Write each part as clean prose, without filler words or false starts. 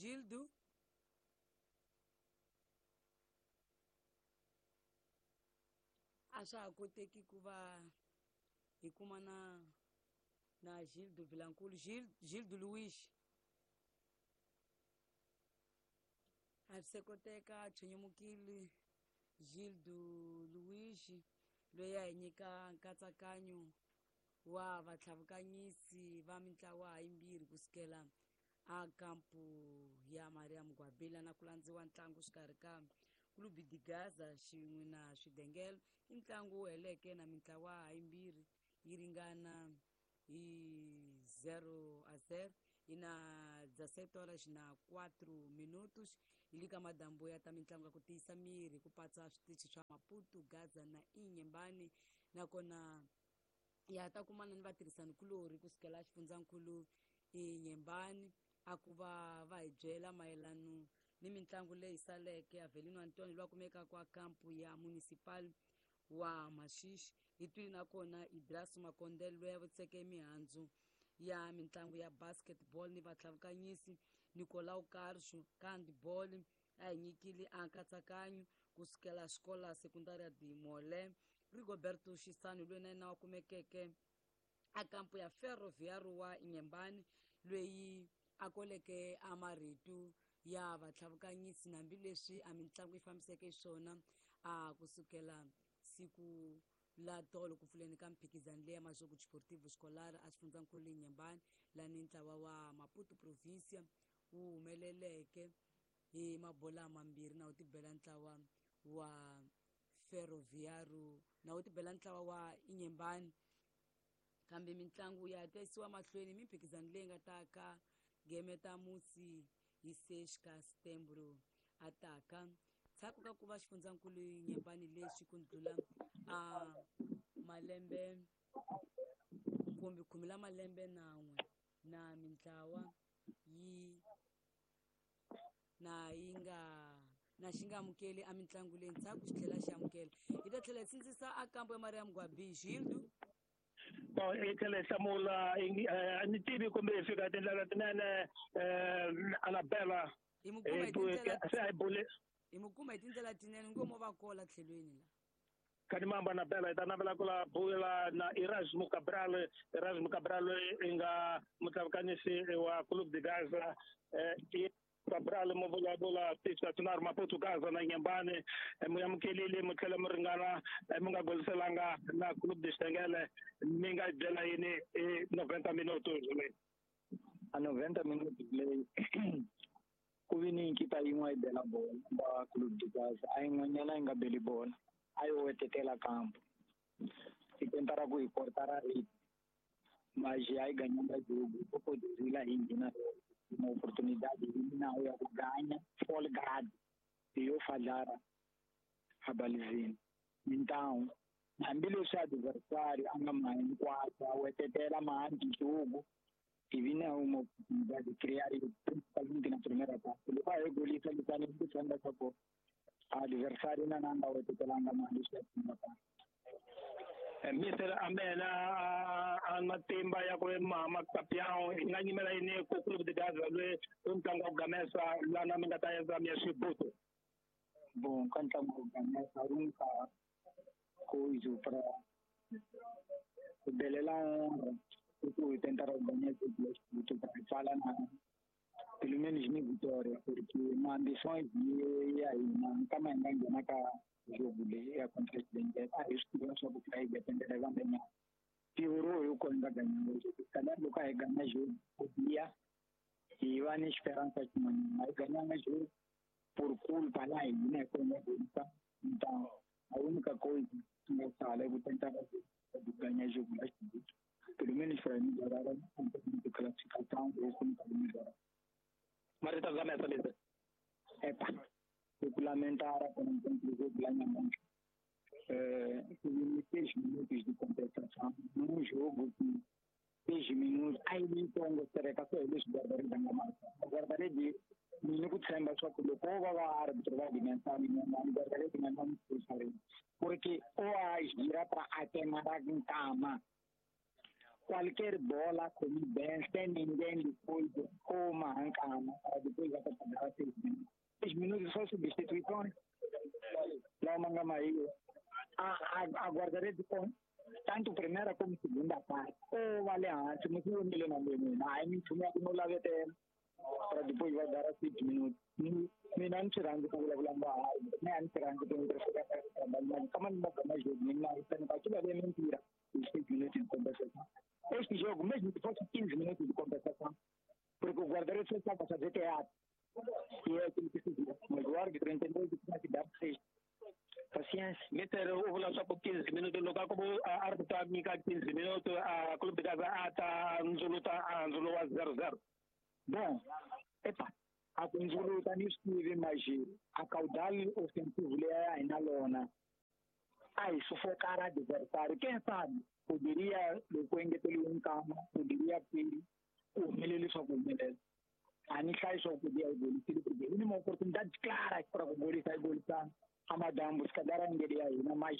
Gildo. A swa ha koteki ku va hi kuma na Gildo Vilankulu, Gildo Luiz. A swi se koteka chonyomukile Gildo Luiz loyi a hi nyika nkatsakanyo wa vatlhavukanyisi va mintlawa yimbirhi kusukela a kampu ya Maria Mugwabila na ku landziwa ntlangu xikarhi ka Clube de Gaza xin'we na Swidengelo. I ntlangu wu heleke na mintlawa yimbirhi yi ringana hi 0-0 yi na 17 horas na 4 minutos. Hi le ka madambu ya ta mitlangu ya ku tiyisa miri ku patsa switichi swa Maputo, Gaza na Inyembani, nakona ya ta kumana ni vatirhisanikulorhi kusukela xifundzankulu Inyembani a ku va va hi byela mayelano ni mitlangu leyi saleke. Avelino Antonio loyi a kumekaka kwa kampu ya municipal wa Maxixi hi twile, nakona Idraso Makondele loyi a vutiseke mihandzu ya mitlangu ya basketball ni vatlhavukanyisi Nicolau Carso ka handball a hi nyikile a nkatsakanyo kusukela xikola sekundari ya Dimole. Rigoberto Xisani loyi na yena wa kumekeke a kampu ya Ferroviário wa Inyembani loyi a koleke a marito ya vatlhavukanyisi hambileswi a mitlangu yi fambiseke xiswona a kusukela siku la tolo ku pfuleni ka mphikizano leyi ya Majogo Desportivo Escolar a xifundzankulu Inyembani, lani ntlawa wa Maputo Provincia wu humeleleke hi mabola mambirhi na wu tibela ntlawa wa Ferroviário na wu tibela ntlawa wa Inyembani. Kambe mitlangu ya ta yisiwa mahlweni mimphikizano leyi nga ta ka gemeta musi hi 6 ka Setembro ataka ndzhaku ka ku va xifundzankulu Inyembani lexi ku ndlula a malembe kumbe khume la malembe nan'we na mintlawa yi na yi nga na xi nga amukeli a mitlangu leyi ndzhaku xi tlhela xi amukela. Hi ta tlhela hi sindzisa a kambo ya Maria Mugwabi Gildo. Bon, i tlhela hi hlamula a ni tivi kumbe hi fika tindlela tinene Anabela. Hi mu kuma hi tindlela se a hi bule hi mu kuma hi tindlela tinene ngo mo va kola tlhelweni la. Kadimamba Anabela hi ta navela ku la bula na Erasmo Cabral. Erasmo Cabral i nga mutlavukanyisi wa Clube de Gaza. Cabral mo vulavula tixatinari Maputo Gaza na Nyembani mu amukelile mu tlhela mu ringana mu nga goliselanga na Clube de Xitengele, mi nga byela yini i 90 minutos leyi? A 90 minutos leyi ku vi ni nkita yin'we yi bela bola va Clube de Gaza, a yin'wanyana yi nga beli bola, a yo wetetela kampo i tentara ku hi kortara rate mas a yi ganhando jogo o poderia ir na uma oportunidade na ya ku ganha folgado e yo falhar a balizini. Então hambileswi adversário a nga ma hinkwaswo a wetetela mahanti jogo e vi na uma oportunidade de criar, principalmente na primeira parte. Loko a hi golisa litani ku tshemba swa adversário na nanga wetetelanga mali swi ya parte. Mister Amena a matimba ya ku mama campeão hi nga nyimela yini ku Clube de Gaza loyi i ntlangu wa ku gamesa lana mi nga ta endla mi ya xibuto? Bom, ka ntlangu wa ku gamesa a única coisa para ku belela honra i ku hi tentar ganhar xibuto para hi pfala na pelo menos ni vitória, porque ma ambições ya hina nkama hi nga nghena ka jogo leyi ya contra Xidengele a hi swi tiva swa ku hi dependela van'wanyana piorou hi ku hi nga ganyanga jogo. Cada loko a hi ganya jogo podia hi va ni esperança xin'wanyana, a hi ganyanga jogo por culpa la hina hi ku hi nga golisa. Então a única coisa que nga sala é ku tentar ganhar jogo la Xibuto, pelo menos para melhorar um pouco de classificação, isso não pode melhorar. Marita gamesa mister. Epa, ku lamentar com o jogo lá na mão. 6 minutos de compensação num jogo que 6 minutos aí então gostaria que eles guardarem da marca. Guardarei ni ku tshemba swa ku loko va va árbitro va dimensão ni guardarei de não porque o agira para atemar nkama qualquer bola como bem sem ninguém depois Ou mahankama para depois vai pagar 6 minutos. 6 minutos só substituições. Lá o Mangamaí. A guarda-redes com tanto primeira como segunda parte. Ou vale antes, mas eu não lembro. Aí me chama no lavete para depois vai dar 6 minutos. Mina ntirando ku vulavula mina ntirando ku ndzi trabalhar kama ni magama jogo mina não aquilo ali é mentira. Os 6 minutos de compensação. Este jogo, mesmo que fosse 15 minutos de compensação, porque o guarda-redes só estava a fazer teatro. E é aquilo que se viu. Mas o árbitro entendeu que tinha que dar 6. Paciência. Mister, o vula swa ku 15 minutos loko a ku árbitro a nyika 15 minutos a Clube de Gaza a ta ndzuluta a ndzulo wa 0-0. Bom, epa, a ku ndzuluta ni swi tivi mas a caudal ofensivo leyi a hi na lona a hi sufocar adversário. Quem sabe poderia loko engeteriwe nkama poderia ter ku humeleli swa ku humelela. A ni hlayi swa ku biha hi golisile porque i ni ma-oportunidade claras para ku golisa hi golisana. Amadambu se calhar a hina mas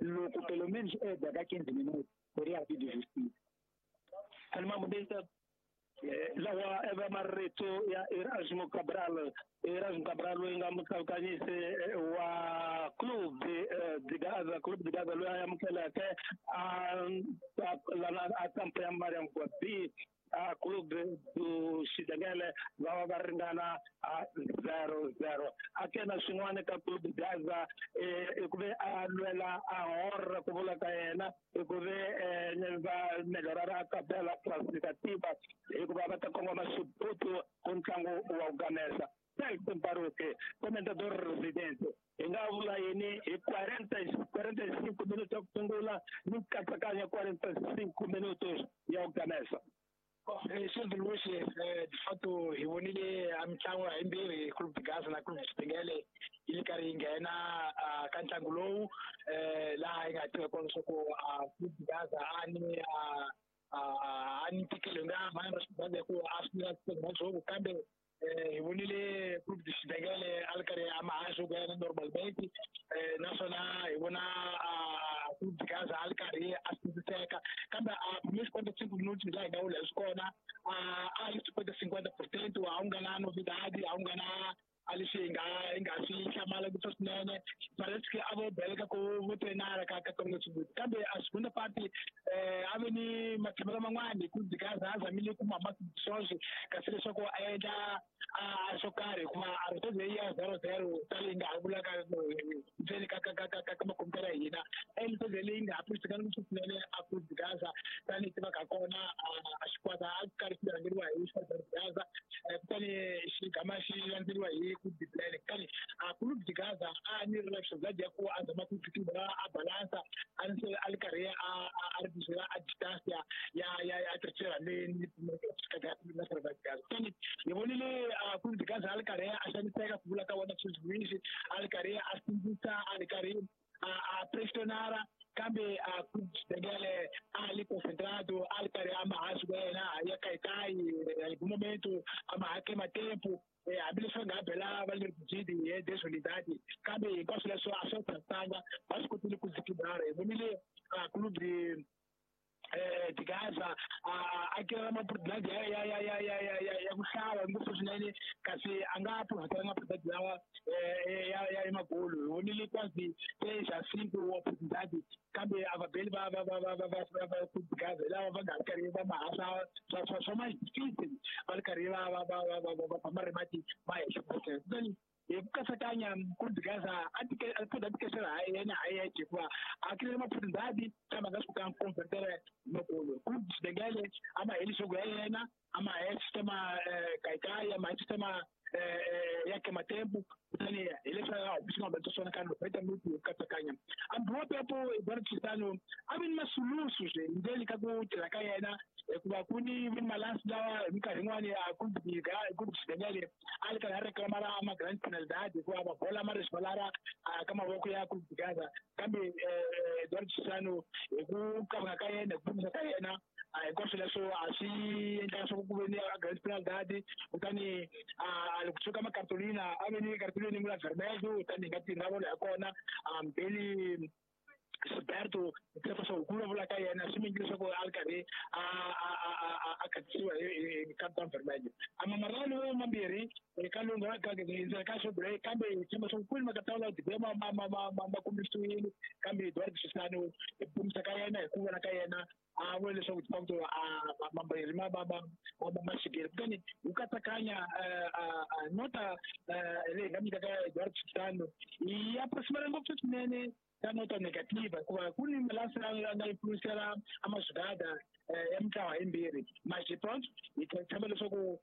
loko pelo menos é daqui a 15 minutos teria havido justiça. Alimamudisa lawa eva marito ya Erasmo Cabral. Erasmo Cabral loyi nga mukavukanyisi wa Clube de Gaza, Clube de Gaza loyi a amukeleke a lana a kampo ya Mariam Gwabi a Clube do Xidengele va va ringana a 0-0. A kena swin'wana ka Clube de Gaza i ku ve a lwela a horra ku vula ka yena i ku ve va melhorara a tabela classificativa hikuva va ta kongoma xiputu ku ntlangu wa ku gamesa. Celton Baruque, comentador residente, hi nga vula yini hi 45 minutos ya ku sungula ni nkatsakanyo 45 minutos ya ku gamesa. Silvio Luiz, de fato hi vonile a mitlangu hayimbirhi Clube de Gaza na Clube de Xidengele yi ri karhi yi nghena ka ntlangu lowu laha yi nga tiva kona leswaku Clube de Gaza a ni a ni ntikelo nga mhani ra Xidengele hikuva a swi nga jogo kambe hi vonile Clube de Xidengele a ri karhi a maha jogo ya yena normalmente naswona hi vona Clube de Gaza a ri karhi a sindziseka kambe a primeiros 45 minutos laha hi nga vula hi swikona a yi 50-50% a wu nga na novidade a wu nga na a leswi hi nga swi hlamala ngopfu swinene parece que a vo beleka ku vo trenara ka ka kambe a segunda parte a ve ni matshamelo man'wani Clube de Gaza a zamile ku mama swoswi kasi leswaku a endla a swo karhi hikuva a ri toze ya 0-0 tali nga ha vulaka ndzeni ka ka ka ka ka makompyuta ya hina e toze leyi nga ha pfuxitekanga ngopfu swinene a Clube de Gaza tanihi tivaka kona a xikwata a karhi xi rhangeriwa hi xikwata Gaza kutani xi gama xi landzeriwa hi Clube de Plene kutani a Clube de Gaza a ni ri na ya ku a zama ku fikela a balansa a ri a ri karhi a ri bizela a distance ya ya ya terceira ni na Gaza kutani hi vonile a Clube de Gaza a ri karhi a xaniseka ku vula ka wona Silvio Luiz a ri karhi a sindzisa a ri karhi a pressionara kambe a Clube de Xidengele a li concentrado a ri karhi a maha swi yena ya kayikai algum momento a maha queima tempo hambileswi va nga bela va le vujidi hi desunidade kambe hinkwaswo leswo a swi tsakanga va swi kotile ku zikibara hi vonile Clube de Gaza a kirela maoportunidade ya ya ya ya ya ya ku hlava ngopfu swinene kasi a nga profitanga maoportunidade lawa ya ya magolo hi vonile quase 3 a 5 oportunidade kambe a vabeli va va va va va va va Clube de Gaza lava va nga ri karhi va mahasa swa swa ma difícil va ri karhi va va va va va va va marimati ma henhla kutani hi ku katsakanya Clube de Gaza a tikesela ha yena ha yexe hikuva a kirele maoportunidade kambe a nga swi kotanga ku convertela makolo Clube de Xidengele a ma heli jogo ya yena a ma he sistema kayikai a ma he sistema ya queima tempo kutani hi leswi a swi nga humelela swona ka 90 minutos hi ku katsakanya ambiwa pepo Eduardo Chissano a vi ni masulusu swe ndzeni ka ku tirha ka yena hikuva ku ni malansi lawa hi minkarhi yin'wani a Clube de Xidengele a ri karhi a reclamara ma grand penalidade hikuva mabola ma resvalara ka mavoko ya Clube de Gaza kambe Eduardo Chissano hi ku kavanga ka yena hi ku pimisa ka yena hinkwaswo leswo a swi endla leswaku ku ve ni a grand penalidade kutani a loko kusuka makartolina a ve ni cartolina la vermelho kutani hi nga ti nga vona ya kona mbeli Gilberto Jefferson ku vulavula ka yena swi mingi leswaku a ri karhi a a a a a khatisiwa hi Captain Vermelho a mamarano mambirhi ka lunga ka ndzela ka xobule kambe tshemba swa kwini makatawula dibe ma ma ma ma ma ma kombisiwile kambe Eduardo Chissano hi kumisa ka yena hi ku vona ka yena a vula leswaku de facto a mambirhi ma ma ma ma ma xikele kutani wu katsakanya nota leyi nga nyikaka Eduardo Chissano yi approximate ngopfu swinene ka nota negativa hikuva ku ni malasi ya nga influencela a mazigada ya mitlawa yimbirhi mas pronto hi tshemba leswaku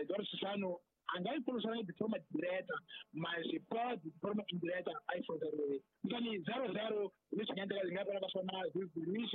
Eduardo Chissano a nga yi pfurisana de forma direta mas pode de forma indireta a yi furiseriwe kutani 0-0 leswi nga endleka hi nga vona ka swona Luis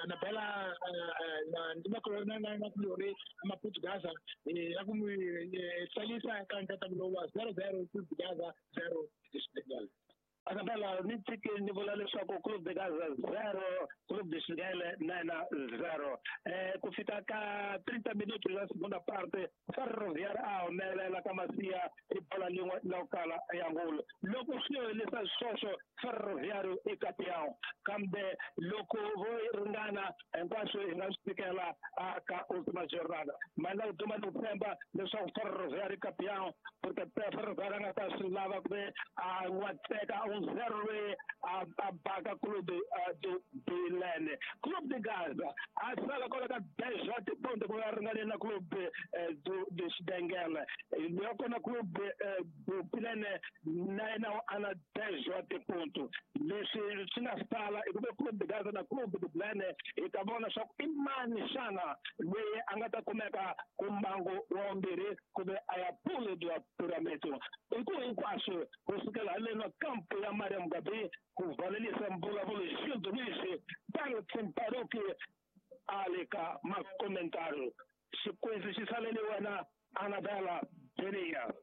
Anabela na kulori Maputo Gaza ya ku n'wi tsalisa ka nkatsakanyo lowu wa 0-0 Clube de Gaza 0 Senegal. Anabela ni tshike ni vula leswaku Clube de Gaza 0 Clube de Senegal 9-0 ku fika ka 30 minutos ya segunda parte Ferroviário a humelela ka Masiya hi bola lin'we la ku kala ya ngulu loko swi helisa sweswo Ferroviário i campeão kambe loko vo ringana hinkwaswo hi nga swi fikela ka última jornada mali ku duma ni ku tshemba leswaku Ferroviário i campeão porque Ferroviário a nga ta swi lava ku ve a n'watseka 1-0 loyi a baka Clube do Bilene Clube de Gaza a sala kwala ka 10 ponto ku va ringane na Clube do de Xidengele loko na Clube do Bilene na yena a na 10 ponto leswi swi nga sala i ku ve Clube de Gaza na Clube de Bilene hi ta vona swa ku i mani xana loyi a nga ta kumeka ku mbangu wa vumbirhi kumbe a ya pule bya piramito i ku hinkwaswo ku sukela haleni kampo ya Mariam Gabi ku valelisa mbulavulo Gildo Luiz Darlton Paroki a le ka makomentari xikwezi xi salele wena Anabela Benia.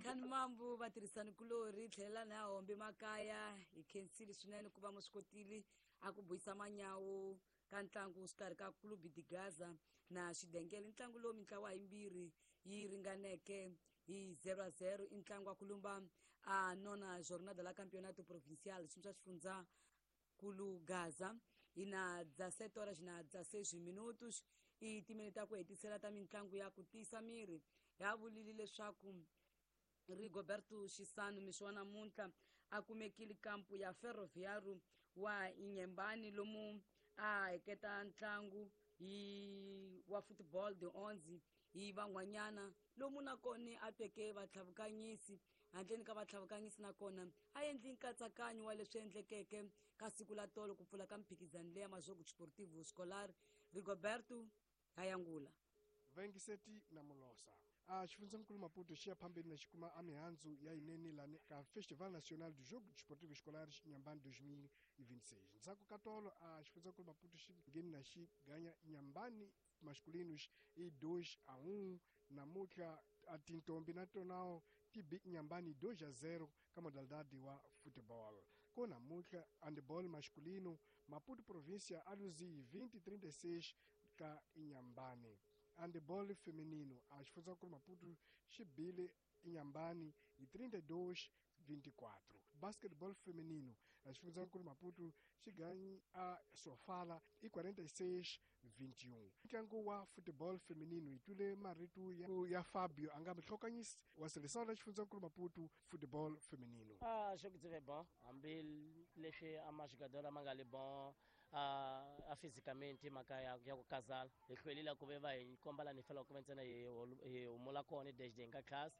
Khani mambu vatirhisani kulori tlhelela na hombe makaya hi khensile swinene ku va mu swi kotile a ku buyisa manyawu ka ntlangu xikarhi ka Clube de Gaza na Xidengele ntlangu lowu mintlawa yimbirhi yi ringaneke hi 0-0 i ntlangu wa ku lumba a nona jornada la campeonato provincial xi swa xifundza kulu Gaza hi na 17 horas na 16 minutos i timinete ta ku hetisela ta mitlangu ya ku tiyisa miri ya vulile leswaku Rigoberto Chissano mixo wa namuntlha a kumekile kampu ya Ferroviário wa Inhambane lomu a heketa ntlangu hi wa football de 11 hi van'wanyana lomu nakona a teke vatlhavukanyisi handleni ka vatlhavukanyisi nakona a endli nkatsakanyo wa leswi endlekeke ka siku la tolo ku pfula ka mphikizano leya Majogo Desportivo Escolar. Rigoberto Hayangula 27 na Mulosa a xifundzankulu Maputo xi ya phambeni na xi kuma a mihandzu ya yinene lani ka Festival Nacional do Jogo Desportivo Escolares Inhambane 2026 ndzhaku ka tolo a xifundzankulu Maputo xi ngheni na xi ganya Inhambane masculinos i 2-1 namuntlha a tintombi na tonao ti bi Inhambane 2-0 ka modalidade wa futebol ko namuntlha handebol masculino Maputo província a luzi 20-36 ka Inhambane. Handebol feminino a xifundzankulu Maputo xi bile Inhambane hi 32-24. Basketball feminino a xifundzankulu Maputo xi ganyi a Sofala hi 46-21. Ntlangu wa football feminino hi twile marito ya Fabio a nga muhlokanyisi wa seleção la xifundzankulu Maputo football feminino. Jogo byi bon hambi leswi a majogador ma nga le bon a fisicamente mhaka ya ku kazala hi hlwelile ku ve va hi komba lani hi faneleke ku va ntsena hi humula kona desde hi nga class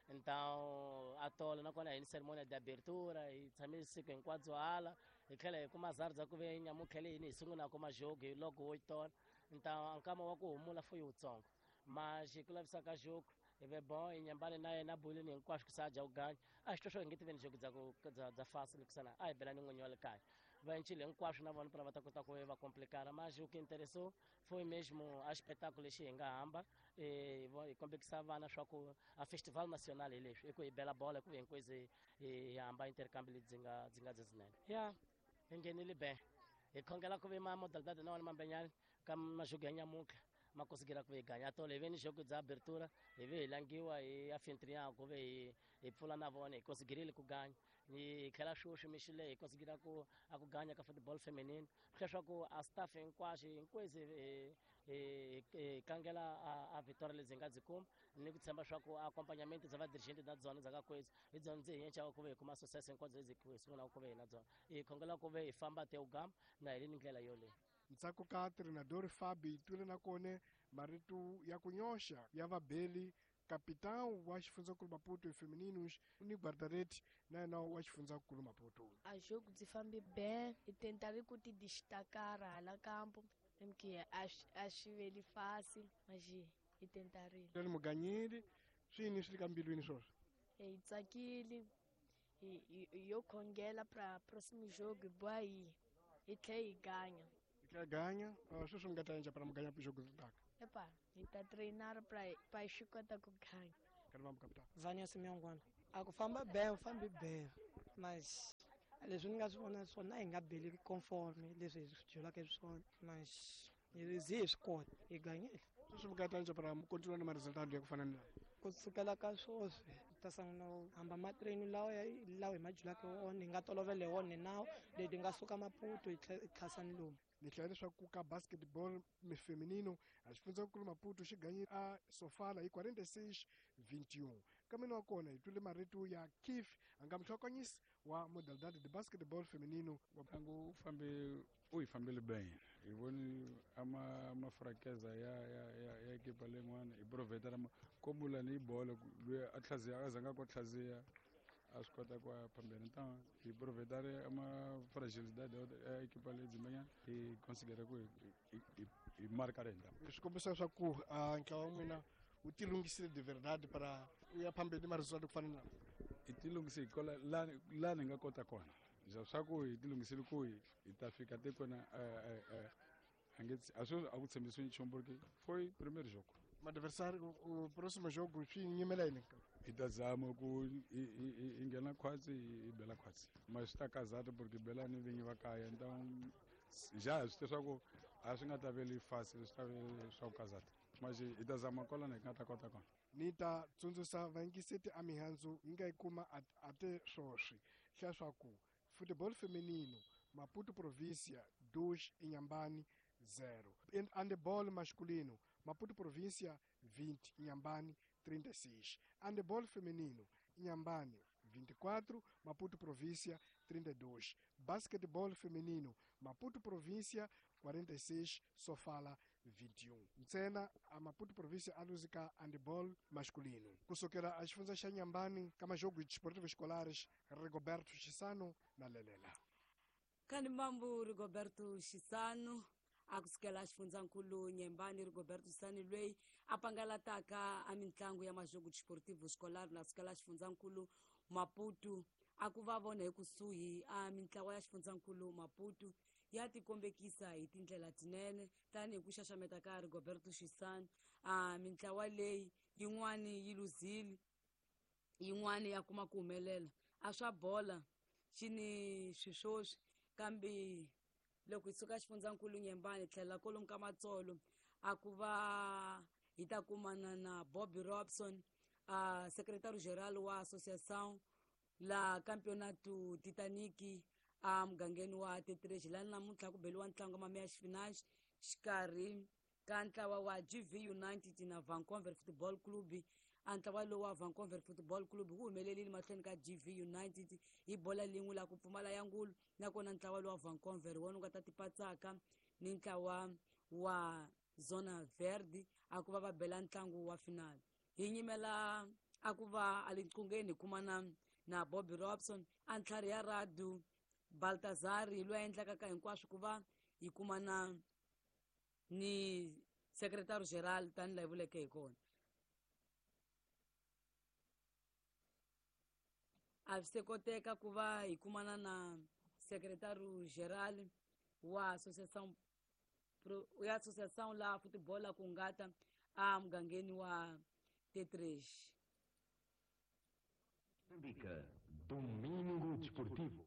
então a tolo nakona hi ni cerimônia de abertura hi tshame siku hinkwabyo hala hi tlhela hi kuma zari bya ku ve nyamutlhele yini hi sungulaka majogo hi loko wo tona então a nkama wa ku humula fo yi wutsongo mas ku lavisa ka jogo hi ve bon Inhambane na yena bolini hinkwaswo ku sa dya ku ganya a xi twa swo hi nge ti veni jogo bya ku bya fasi loko a hi bela ni n'winyi wa le kaya va encile hinkwaswo na vona para va ta kota ku va complicana mas o que interessou foi mesmo a espetáculo lexi hi nga hamba hi kombekisa vana swa ku a festival nacional hi leswi i ku hi bela bola hi ku hinkwezi hi hamba intercambio lebyi nga byi nga byizinene ya hi nghenile be hi khongela ku ve ma modalidade na wona mambenyani ka majogo ya nyamuntlha ma konsigira ku ve hi ganya tolo hi ve ni jogo bya abertura hi ve hi langiwa hi anfitrião ku ve hi pfula na vona hi konsigirile ku ganya. Ni tlhela sweswi mi xile hi konsigira ku a ku ganya ka football feminine leswaku a staff hinkwaxo hinkwezi hi kangela a victoria lebyi hi nga byi kuma ni ku tshemba swa ku accompagnament bya vadirigente na byona bya ka kwezi hi byona ndzi hi yencaku ku ve hi kuma success hinkwabyo lebyi hi sungulaka ku ve hi na byona hi khongela ku ve hi famba te ugama na hi le ndlela yoleyo. Ntsako ka treinador Fabi twile na kone marito ya ku nyoxa ya vabeli capitão wa xifundzankulu Maputo femininos ni guarda-redes na yena wa xifundzankulu Maputo. A jogo byi fambi bem, hi tentare ku ti destacar hala campo, porque a swi veli fácil, mas hi tentarile. Lani muganyeli swi yini swi le ka mbilwini swoswo? Hi tsakile, hi yo khongela pra próximo jogo hi boha hi tlhela hi ganya. Hi tlhela ganya, sweswi mi nga ta endla para muganya jogo ri taka? Epa, hi ta treinar pra hi swi kota ku ganya. Karivambu capitão. Vania Simiongwana. A ku famba bem, u fambi bem, mas leswi ni nga swi vona swona hi nga beli conforme leswi hi swi byelaka swona, mas hi zi hi swi kota, hi ganyile. Sweswi mi nga ta endla para mi continua na ma-resultado ya ku fana ni lawa? Ku sukela ka sweswi hi ta sungula ku hamba matreni lawa lawa hi ma byelaka wona, hi nga tolovela hi wona nawu leti nga suka Maputo hi tlhasa ni lomu. Ni hlaya leswaku ka basketball feminino a xifundzankulu Maputo xi ganyile a Sofala hi 46-21. Ka mina wa kona hi twile marito ya Keith a nga muhlokanyisi wa modalidade de basketball feminino. Ntlangu u fambe u hi fambele bem, hi voni a mafrakeza ya ekipa leyin'wana hi provheta komula ni bolo loyi a tlhaziya a zanga ku tlhaziya a swi kota ku ya phambeni. Então hi provhetare ama fragilidade ya ekipa leyi dzimanyana hi considera ku hi marka renda. Swi kombisa leswaku ntlawa wa n'wina wu tilunghisile de verdade para u ya phambeni ma resultado ku fana na hi tilunghisile kola la ni nga kota kona swa ku hi tilunghisile ku hi ta fika tikweni a nge a swi a ku tshembisiwi nchumu porque foi primeiro jogo. Madversário o próximo jogo swi nyimela yini? Hi ta zama ku hi nghena khwatsi hi bela khwatsi, mas swi ta kazata porque bela ni vinyi va kaya, então já swi tiva swa ku a swi nga ta veli fácil, swi ta ve swa ku kazata, mas hi ta zama kwalano hi nga ta kota kona. Ni ta tsundzuxa vayingiseti a mihandzu yi nga yi kuma a te swoswi hlaya swa ku football feminino Maputo província 2 Inhambane 0, handebol masculino Maputo província 20 Inhambane 36, handebol feminino Inhambane 24 Maputo província 32, basquetebol feminino Maputo província 46 Sofala 21. Ntsena a Maputo província a luzika handebol masculino. Kusukela a xifundza xa Inhambane ka majogo desportivos escolares Rigoberto Chisano na Lelela. Kani mambu Rigoberto Chisano a kusukela xifundzankulu Inhambane Rigoberto Chisano loyi a pangalataka a mintlangu ya majogo desportivo escolar na sukela xifundzankulu Maputo a ku va vona hi kusuhi a mintlawa ya xifundzankulu Maputo ya tikombekisa hi tindlela tinene tanihi ku xaxameta ka Rigoberto Chisano. A mintlawa leyi yin'wani yi luzile, yin'wani ya kuma ku humelela. A swa bola xi ni swiswoswi, kambe loko hi suka xifundzankulu Inhambane tlhela kolomu ka Matsolo a ku va hi ta kumana na Bobby Robson, a secretario geral wa associação la campeonato Titanic a mugangeni wa T3 laha namuntlha ku beliwa ntlangu wa mameya xifinaxi xikarhi ka ntlawa wa GV United na Vancouver Football Club. A ntlawa lowu wa Vancouver Football Club wu humelerile mahlweni ka GV United hi bola lin'we la ku pfumala ya ngulu, nakona ntlawa lowu wa Vancouver wona wu nga ta tipatsaka ni ntlawa wa Zona Verde a ku va va bela ntlangu wa final. Hi nyimela a ku va a le nqungeni hi kumana na Bobby Robson a ntlhari ya Radu Baltazar loyi a endlaka ka hinkwaswo ku va hi kumana ni secretary general tanihi laha hi vuleke hi kona. A swi se koteka ku va hi kumana na secretary general wa association ya association la football ku ngata a mugangeni wa T3. Domingo Desportivo.